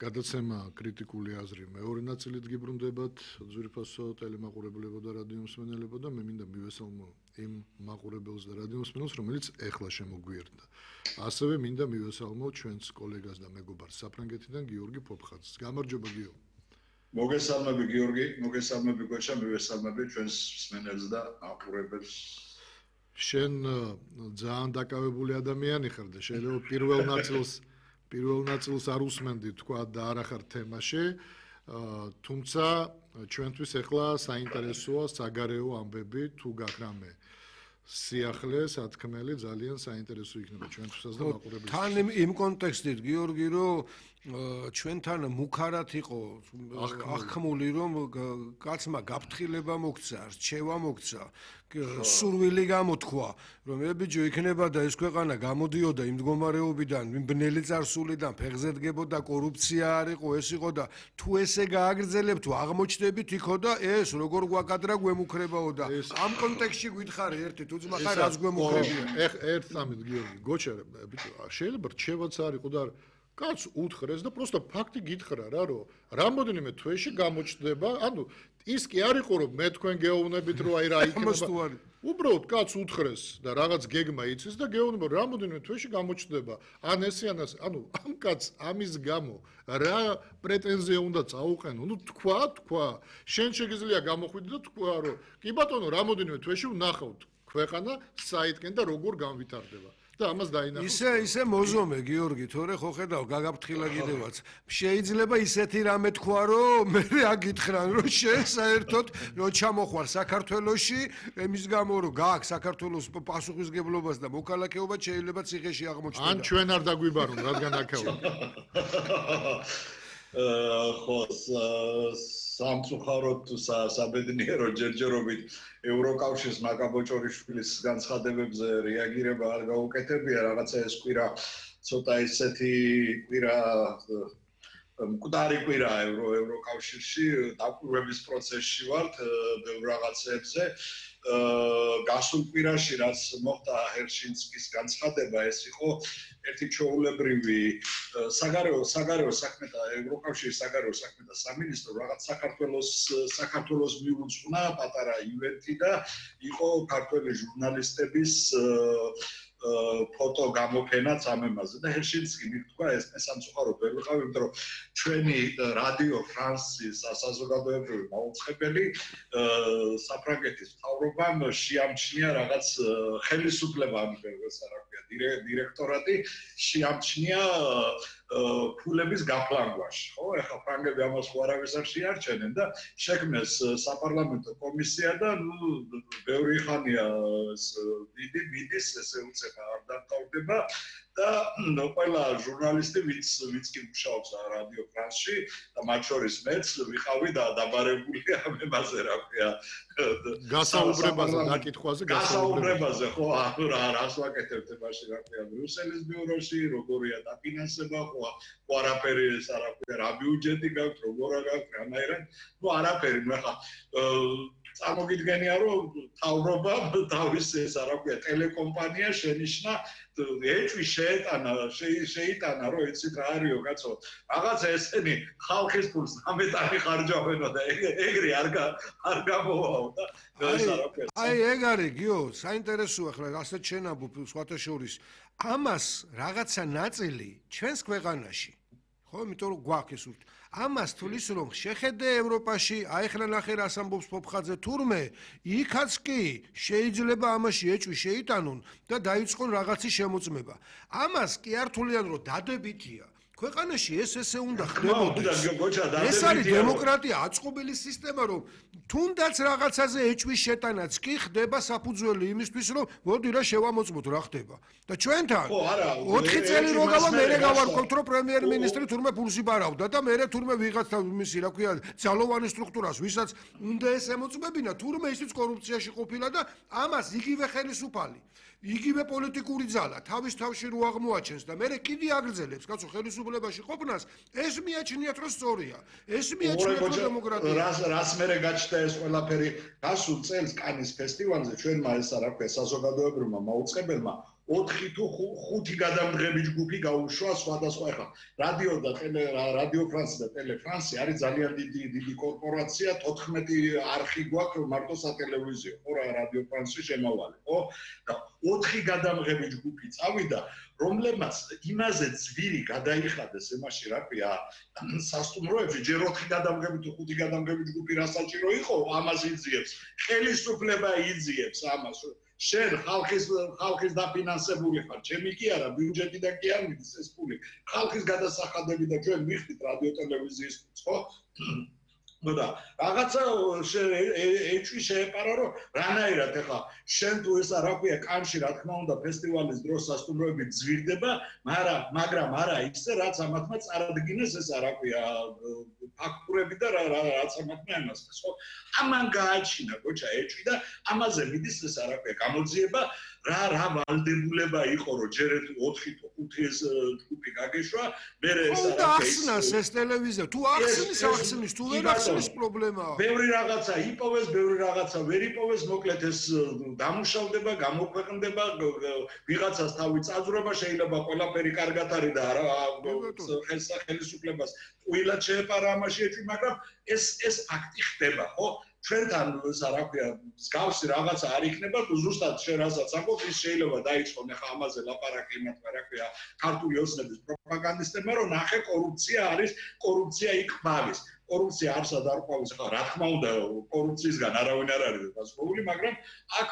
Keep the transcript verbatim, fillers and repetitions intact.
გადაცემა კრიტიკული აზრი მეორე ნაწილით გიბრუნდებათ ძვირფასო ტელემაყურებლებო და რადიო მსმენელებო და მე მინდა მივესალმო იმ მაყურებელს და რადიო მსმენელს რომელიც ეხლა შემოგვიერთდა. ასევე მინდა მივესალმო ჩვენს კოლეგას და მეგობარს საფრანგეთიდან გიორგი ფოფხაძეს. გამარჯობა გიორგი. მოგესალმები გიორგი, მოგესალმები გოჩა, მივესალმები ჩვენს მსმენელს და მაყურებელს. შენ ძალიან დაკავებული ადამიანი ხარ და შეიძლება პირველ ნაწილს პირველ ნაწილს არ უსმენდი თქვა და არ ახარ თემაში, თუმცა ჩვენთვის ახლა საინტერესოა საგარეო ამბები თუ გაქრამე. სიახლე სათქმელი ძალიან საინტერესო იქნება ჩვენთვისაც და მაყურებელს. თან იმ კონტექსტით გიორგი რომ ჩვენთან მუქარად იყო აღქმული რომ კაცმა გაფრთხილება მოგცა, რჩევა მოგცა, სურვილი გამოთქვა რომ ებიჯო იქნება და ეს ქვეყანა გამოდიოდა იმ მდგომარეობიდან, იმ ბნელი წარსულიდან, ფეხზე დგებოდა კორუფცია არ იყო, ეს იყო და თუ ესე გააგრძელებ თუ აღმოჩნდებით იქო და ეს როგორ გვაკადრა გვემუქრებაო და ამ კონტექსტში გითხარი ერთი თუ ძმა ხარ რაც გვემუქრებია. ეხ ერთ სამით გიორგი, გოჩა ბიჭო, შეიძლება რჩევაც არ იყო და კაც უთხრეს და პროსტა ფაქტი გითხრა რა რომ რამოდენიმე თვეში გამოჩნდება, ანუ ის კი არ იყო რომ მე თქვენ გეოვნებით რომ აი რა იქნება. უბრალოდ კაც უთხრეს და რაღაც გეგმა იცის და გეუბნება რამოდენიმე თვეში გამოჩნდება. ან ესე ან ასე, ანუ ამ კაც ამის გამო რა პრეტენზია უნდა წაუყენო? ნუ თქვა, თქვა. შენ შეგიძლია გამოხვიდე და თქვა რომ კი ბატონო რამოდენიმე თვეში ვნახავთ ქვეყანა საითკენ და როგორ განვითარდება. და ამას დაინახავთ. ისე ისე მოზომე გიორგი, თორე ხო ხედავ გაგაფრთხილა კიდევაც. შეიძლება ისეთი რამე თქვა რომ მე აგითხრან რომ შენ საერთოდ რო ჩამოხვარ საქართველოში, εμის გამო რომ გააქვს საქართველოს პასუხისგებლობას და მოქალაქეობა შეიძლება ციხეში აღმოჩნდეს. ან ჩვენ არ დაგვიბარონ, რადგან აქაო. ხო, სამწუხაროდ თუ საბედნიერო ჯერჯერობით ევროკავშირის მაკაბოჭორიშვილის განცხადებებზე რეაგირება არ გაუკეთებია, რაღაცა ეს კვირა ცოტა ისეთი კვირა მკვდარი კვირა ევროკავშირში, დაკვირვების პროცესში ვართ ბევრ რაღაცებზე. გასულ კვირაში რაც მოხდა ჰერშინსკის განცხადება, ეს იყო ერთი ჩვეულებრივი საგარეო საგარეო საქმეთა ევროკავშირის საგარეო საქმეთა სამინისტრო რაღაც საქართველოს საქართველოს მიუძღვნა პატარა ივენთი და იყო ქართველი ჟურნალისტების ფოტო გამოფენაც ამ ემაზე და ჰერშინსკი მithქვა ეს სამწუხაროდ ვერ ვიყავ, იმიტომ რომ ჩვენი რადიო ფრანსის საზოგადოებრივი მაუწყებელი საფრანგეთის მთავრობამ შეამჩნია რაღაც ხელისუფლება, ამას რა ქვია, დირექტორატი შეამჩნია ფულების გაფლანგვაში, ხო? ეხლა ფრანგები ამას უარავის არ შეარჩენენ და შექმნეს საპარლამენტო კომისია და ნუ ბევრი ხანია დიდი მიდის ესე უცებ არ დამთავრდება და ყველა ჟურნალისტი ვინც ვინც კი მუშაობს რადიო ფრანსში და მათ შორის მეც ვიყავი და დაბარებული ამ ემაზე რა ქვია გასაუბრებაზე დაკითხვაზე გასაუბრებაზე ხო ანუ რა რას ვაკეთებთ მაშინ რა ქვია ბრიუსელის ბიუროში როგორია დაფინანსება ხო არაფერი ეს რა ქვია რა ბიუჯეტი გაქვთ როგორ გაქვთ რანაირად ნუ არაფერი მე ხა წარმოგიდგენია რომ თავრობა თავის ეს რა ქვია ტელეკომპანია შენიშნა ეჭვი შეეტანა შეიტანა რომ იცით რა არისო კაცო რაღაცა ესენი ხალხის ფულს ამეტანი ხარჯავენო და ეგრე არ არ გამოვაო და ეს რა ქვია აი ეგ არის გიო საინტერესოა ხლა ასეთ შენაბუ სხვათა შორის ამას რაღაცა ნაწილი ჩვენს ქვეყანაში ხო იმიტომ რომ გვაქვს ეს ამას თulis რომ შეხედე ევროპაში აი ხლა ნახე რას ამბობს ფოფხაძე თურმე იქაც კი შეიძლება ამაში ეჭვი შეიტანონ და დაიწყონ რაღაცის შემოწმება ამას კი არ თვლიან რომ დადებითია ქვეყანაში ეს ესე უნდა ხდებოდეს ეს არის დემოკრატია აწყობილი სისტემა რომ თუნდაც რაღაცაზე ეჭვის შეტანაც კი ხდება საფუძველი იმისთვის რომ მოდი რა შევამოწმოთ რა ხდება და ჩვენთან ოთხი წელი რო გავა მე გავარკვევთ რომ პრემიერ-მინისტრი თურმე ფულს იბარავდა და მე თურმე ვიღაცა მისი რა ქვია ძალოვანი სტრუქტურას ვისაც უნდა ეს ემოწმებინა თურმე ისიც კორუფციაში ყოფილა და ამას იგივე ხელისუფალი იგივე პოლიტიკური ძალა თავის თავში რო აღმოაჩენს და მე კიდე აგრძელებს კაცო ხელისუფლებაში ყოფნას ეს მიაჩნიათ რომ სწორია ეს მიაჩნიათ რომ დემოკრატია რას რას მე გაჩნდა ეს ყველაფერი გასულ წელს კანის ფესტივალზე ჩვენმა ეს რა ქვია საზოგადოებრივმა მაუწყებელმა ოთხი თუ ხუთი გადამღები ჯგუფი გაუშვა სხვადასხვა ახლა რადიო და ტელე რადიო ფრანსი და ტელე ფრანსი არის ძალიან დიდი დიდი კორპორაცია თოთხმეტი არხი გვაქვს მარტო სატელევიზიო ხო რა რადიო ფრანსი შემავალი ხო და ოთხი გადამღები ჯგუფი წავიდა რომლებმაც იმაზე ძვირი გადაიხადეს ემაში რა ქვია სასტუმროებში ჯერ ოთხი გადამღები თუ ხუთი გადამღები ჯგუფი რა საჭირო იყო ამას იძიებს ხელისუფლება იძიებს ამას შენ ხალხის ხალხის დაფინანსებული ხარ ჩემი კი არა ბიუჯეტიდან კი არ მიდის ეს ფული ხალხის გადასახადები და ჩვენ მიხდით რადიო ტელევიზიის ხო და რაღაცა ეჭვი შეეპარა რომ რანაირად ეხა შენ თუ ესა რა ქვია კანში რა თქმა უნდა ფესტივალის დროს სასტუმროები ძვირდება მაგრამ მაგრამ არა ისე რაც ამათმა წარადგინეს ესა რა ქვია ფაქტურები და რაც ამათმა ემასეს ხო ამან გააჩინა გოჩა ეჭვი და ამაზე მიდის ესა რა ქვია გამოძიება რა რა ვალდებულება იყო რომ ჯერ ოთხი თუ ხუთი ეს ჯგუფი გაგეშვა მე ესა რა ქვია ახსნას ეს ტელევიზია თუ ახსნის ახსნის თუ ვერ ახსნის პრობლემაა ბევრი რაღაცა იპოვეს ბევრი რაღაცა ვერ იპოვეს მოკლედ ეს დამუშავდება გამოქვეყნდება ვიღაცას თავი წაძვრება შეიძლება ყველაფერი კარგად არის და არა ხელისუფლებას უილად შეეპარა ამაში ეჭვი მაგრამ ეს ეს ფაქტი ხდება ხო ჩვენთან ესა რა ქვია მსგავსი რაღაცა არ იქნება თუ ზუსტად შენ რასაც ამბობ ის შეიძლება დაიწყონ ახლა ამაზე ლაპარაკი იმათმა რა ქვია ქართული ოცნების პროპაგანდისტებმა რომ ნახე კორუფცია არის კორუფცია იქ კორუფცია არსად არ ყვავის ხა რა თქმა უნდა კორუფციისგან არავინ არ არის დასწრებული მაგრამ აქ